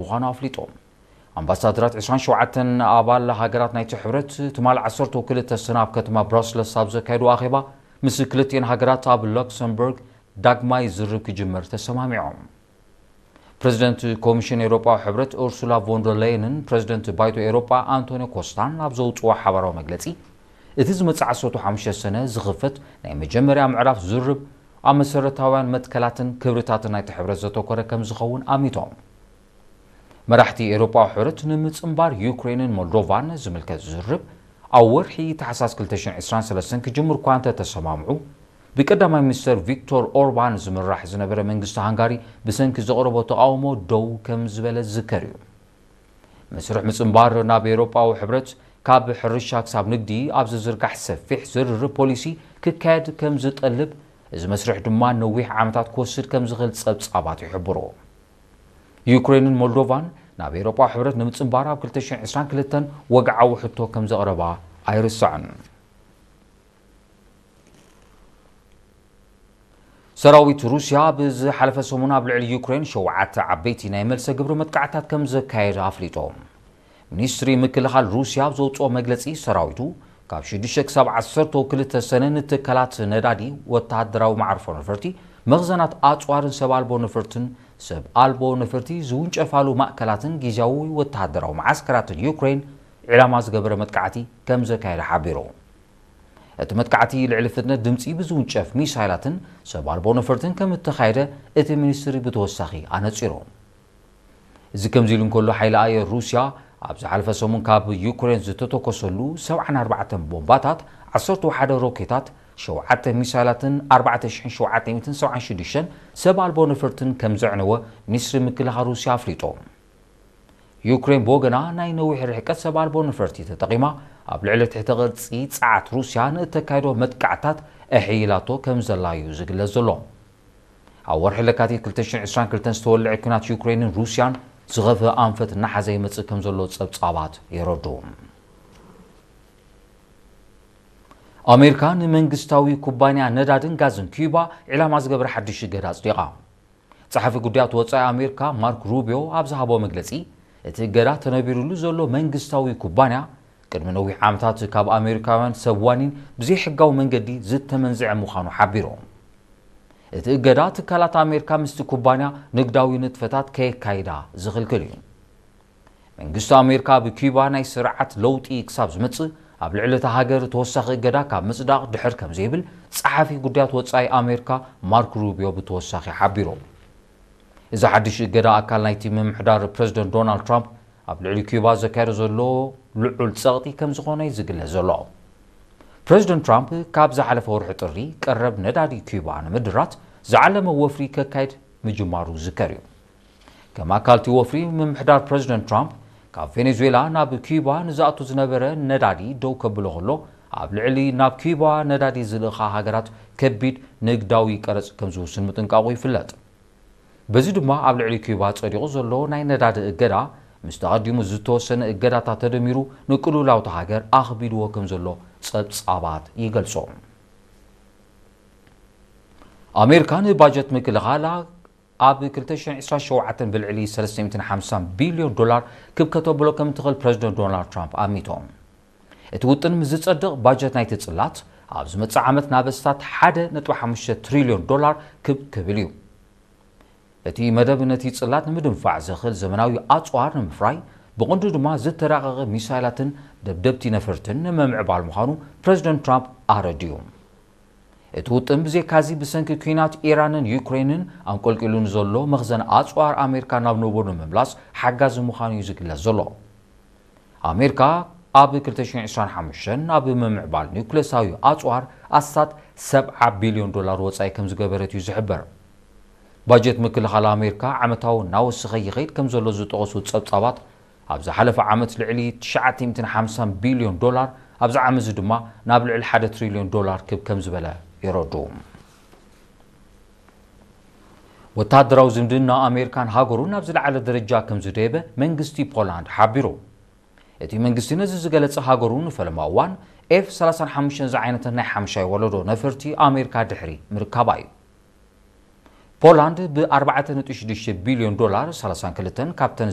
ምዃኑ ኣፍሊጡ። ኣምባሳደራት ዕስራን ሸውዓተን ኣባል ሃገራት ናይቲ ሕብረት ትማል ዓሰርተ ክልተ ሰነ ኣብ ከተማ ብራስለስ ኣብ ዘካየዱ ኣኼባ ምስ ክልቲኤን ሃገራት ኣብ ሉክሰምበርግ ዳግማይ ዝርብ ክጅመር ተሰማሚዖም። ፕረዚደንት ኮሚሽን ኤውሮጳዊ ሕብረት ኡርሱላ ቮንደር ሌየንን ፕረዚደንት ባይቶ ኤውሮጳ ኣንቶኒዮ ኮስታን ኣብ ዘውፅዎ ሓባራዊ መግለጺ፣ እቲ ዝመጽእ ዓሰርተ ሓሙሽተ ሰነ ዝኽፈት ናይ መጀመርያ ምዕራፍ ዝርብ ኣብ መሰረታውያን መትከላትን ክብርታትን ናይቲ ሕብረት ዘተኮረ ከም ዝኸውን ኣሚቶም። መራሕቲ ኤውሮጳዊ ሕብረት ንምጽንባር ዩክሬንን ሞልዶቫን ዝምልከት ዝርብ ኣብ ወርሒ ታሕሳስ ክልተ ሽሕን ዕስራን ሰለስተን ክጅምር እኳ እንተተሰማምዑ፣ ብቀዳማይ ሚኒስተር ቪክቶር ኦርባን ዝምራሕ ዝነበረ መንግስቲ ሃንጋሪ ብሰንኪ ዘቕረቦ ተቓውሞ ደው ከም ዝበለ ዝዝከር እዩ። መስርሕ ምጽንባር ናብ ኤውሮጳዊ ሕብረት ካብ ሕርሻ ክሳብ ንግዲ ኣብ ዝዝርጋሕ ሰፊሕ ዝርርብ ፖሊሲ ክካየድ ከም ዝጠልብ፣ እዚ መስርሕ ድማ ነዊሕ ዓመታት ክወስድ ከም ዝኽእል ጸብጻባት ይሕብሩ። ዩክሬንን ሞልዶቫን ናብ ኤውሮጳዊ ሕብረት ንምጽንባር ኣብ ክልተ ሽሕን ዕስራን ክልተን ወግዓዊ ሕቶ ከም ዘቕረባ ኣይርሳዕን። ሰራዊት ሩስያ ብዝሓለፈ ሰሙን ኣብ ልዕሊ ዩክሬን ሸውዓተ ዓበይቲ ናይ መልሰ ግብሪ መጥቃዕታት ከም ዘካየደ ኣፍሊጡ። ሚኒስትሪ ምክልኻል ሩስያ ኣብ ዘውፅኦ መግለፂ፣ ሰራዊቱ ካብ ሽዱሽተ ክሳብ ዓሰርተ ክልተ ሰነ ንትካላት ነዳዲ፣ ወተሃደራዊ መዓርፎ ነፈርቲ፣ መኽዘናት ኣፅዋርን ሰብ ኣልቦ ነፈርትን፣ ሰብ ኣልቦ ነፈርቲ ዝውንጨፋሉ ማእከላትን ግዝያዊ ወተሃደራዊ መዓስከራትን ዩክሬን ዒላማ ዝገበረ መጥቃዕቲ ከም ዘካየደ ሓቢሩ። እቲ መጥቃዕቲ ልዕሊ ፍጥነት ድምፂ ብዝውንጨፍ ሚሳይላትን ሰብ ኣልቦ ነፈርትን ከም እተኻየደ እቲ ሚኒስትሪ ብተወሳኺ ኣነፂሩ። እዚ ከምዚ ኢሉ እንከሎ፣ ሓይሊ ኣየር ሩስያ ኣብ ዝሓለፈ ሰሙን ካብ ዩክሬን ዝተተኮሰሉ ሰብዓን ኣርባዕተን ቦምባታት፣ ዓሰርተ ሓደ ሮኬታት፣ ሸውዓተ ሚሳይላትን ኣርባዕተ ሽሕን ሸውዓተ ሚእትን ሰብዓን ሽዱሽተን ሰብ ኣልቦ ነፈርትን ከም ዘዕነወ ሚኒስትሪ ምክልኻል ሩስያ ኣፍሊጡ። ዩክሬን ብወገና ናይ ነዊሕ ርሕቀት ሰብ ኣልቦ ነፈርቲ ተጠቒማ ኣብ ልዕሊ ትሕተ ቅርጺ ጸዓት ሩስያ ንእተካይዶ መጥቃዕታት ኣሕይላቶ ከም ዘላ እዩ ዝግለጽ ዘሎ። ኣብ ወርሒ ለካቲት ክልተ ሽሕን ዕስራን ክልተን ዝተወልዐ ኲናት ዩክሬንን ሩስያን ዝኸፍአ ኣንፈት እናሓዘ ይመጽእ ከም ዘሎ ጸብጻባት የረድኡ። ኣሜሪካ ንመንግስታዊ ኩባንያ ነዳድን ጋዝን ኪዩባ ዒላማ ዝገበረ ሓድሽ እገዳ ኣጽዲቓ። ጸሓፊ ጉዳያት ወጻኢ ኣሜሪካ ማርክ ሩቢዮ ኣብ ዝሃቦ መግለጺ፣ እቲ እገዳ ተነቢሩሉ ዘሎ መንግስታዊ ኩባንያ ቅድሚ ነዊሕ ዓመታት ካብ ኣሜሪካውያን ሰብ ዋኒን ብዘይሕጋዊ መንገዲ ዝተመንዝዐ ምዃኑ ሓቢሩ። እቲ እገዳ ትካላት ኣሜሪካ ምስቲ ኩባንያ ንግዳዊ ንጥፈታት ከየካይዳ ዝኽልክል እዩ። መንግስቲ ኣሜሪካ ኣብ ኪዩባ ናይ ስርዓት ለውጢ ክሳብ ዝመጽእ ኣብ ልዕሊ እታ ሃገር ተወሳኺ እገዳ ካብ ምጽዳቕ ድሕር ከም ዘይብል ጸሓፊ ጉዳያት ወጻኢ ኣሜሪካ ማርክ ሩቢዮ ብተወሳኺ ሓቢሩ። እዚ ሓድሽ እገዳ ኣካል ናይቲ ምምሕዳር ፕረዚደንት ዶናልድ ትራምፕ ኣብ ልዕሊ ኪዩባ ዘካየዶ ዘሎ ልዑል ጸቕጢ ከም ዝኾነ እዩ ዝግለጽ ዘሎ። ፕረዚደንት ትራምፕ ካብ ዝሓለፈ ወርሒ ጥሪ ቀረብ ነዳዲ ኪዩባ ንምድራት ዝዓለመ ወፍሪ ከካይድ ምጅማሩ ዝዝከር እዩ። ከም ኣካል እቲ ወፍሪ፣ ምምሕዳር ፕረዚደንት ትራምፕ ካብ ቬኔዙዌላ ናብ ኪዩባ ንዝኣቱ ዝነበረ ነዳዲ ደው ከብሎ ከሎ፣ ኣብ ልዕሊ ናብ ኪዩባ ነዳዲ ዝልእኻ ሃገራት ከቢድ ንግዳዊ ቀረጽ ከም ዝውስን ምጥንቃቑ ይፍለጥ። በዚ ድማ ኣብ ልዕሊ ኪዩባ ጸዲቑ ዘሎ ናይ ነዳዲ እገዳ፣ ምስ ተቐዲሙ ዝተወሰነ እገዳታት ተደሚሩ ንቅልውላው እታ ሃገር ኣኽቢድዎ ከም ዘሎ ጸብጻባት ይገልጾ። ኣሜሪካ ንባጀት ምክልኻላ ኣብ ክልተ ሽሕን ዕስራን ሸውዓተን ብልዕሊ ሰለስተ ሚእትን ሓምሳን ቢልዮን ዶላር ክብ ከተብሎ ከም እትኽእል ፕረዚደንት ዶናልድ ትራምፕ ኣሚቶም። እቲ ውጥን ምስ ዝጸድቕ፣ ባጀት ናይቲ ጽላት ኣብ ዝመጽእ ዓመት ናብ ኣስታት ሓደ ነጥቢ ሓሙሽተ ትሪልዮን ዶላር ክብ ክብል እዩ። እቲ መደብ ነቲ ጽላት ንምድንፋዕ ዘኽእል ዘመናዊ ኣጽዋር ንምፍራይ፣ ብቕንዱ ድማ ዝተራቐቐ ሚሳይላትን ደብደብቲ ነፈርትን ንምምዕባል ምዃኑ ፕረዚደንት ትራምፕ ኣረዲኡ። እቲ ውጥን ብዘይካዚ ብሰንኪ ኲናት ኢራንን ዩክሬንን ኣንቆልቂሉ ንዘሎ መኽዘን ኣጽዋር ኣሜሪካ ናብ ንቡር ንምምላስ ሓጋዚ ምዃኑ እዩ ዝግለጽ ዘሎ። ኣሜሪካ ኣብ ክልተ ሽሕን ዕስራን ሓሙሽተን ኣብ ምምዕባል ኒውክለሳዊ ኣጽዋር ኣስታት ሰብዓ ቢልዮን ዶላር ወጻኢ ከም ዝገበረት እዩ ዝሕበር። ባጀት ምክልኻል ኣሜሪካ ዓመታዊ እናወሰኸ ይኸይድ ከም ዘሎ ዝጠቐሱ ጸብጻባት፣ ኣብ ዝሓለፈ ዓመት ልዕሊ ትሽዓተ ሚእትን ሓምሳን ቢልዮን ዶላር፣ ኣብዚ ዓመት እዚ ድማ ናብ ልዕሊ ሓደ ትሪልዮን ዶላር ክብ ከም ዝበለ የረድኡ። ወተሃደራዊ ዝምድና ኣሜሪካን ሃገሩን ናብ ዝለዓለ ደረጃ ከም ዝደየበ መንግስቲ ፖላንድ ሓቢሩ። እቲ መንግስቲ ነዚ ዝገለጸ፣ ሃገሩ ንፈለማ እዋን ኤፍ ሰላሳን ሓሙሽተን ዝዓይነተን ናይ ሓምሻይ ወለዶ ነፈርቲ ኣሜሪካ ድሕሪ ምርካባ እዩ። ፖላንድ ብ ኣርባዕተ ነጥቢ ሽዱሽተ ቢልዮን ዶላር ሰላሳን ክልተን ካብተን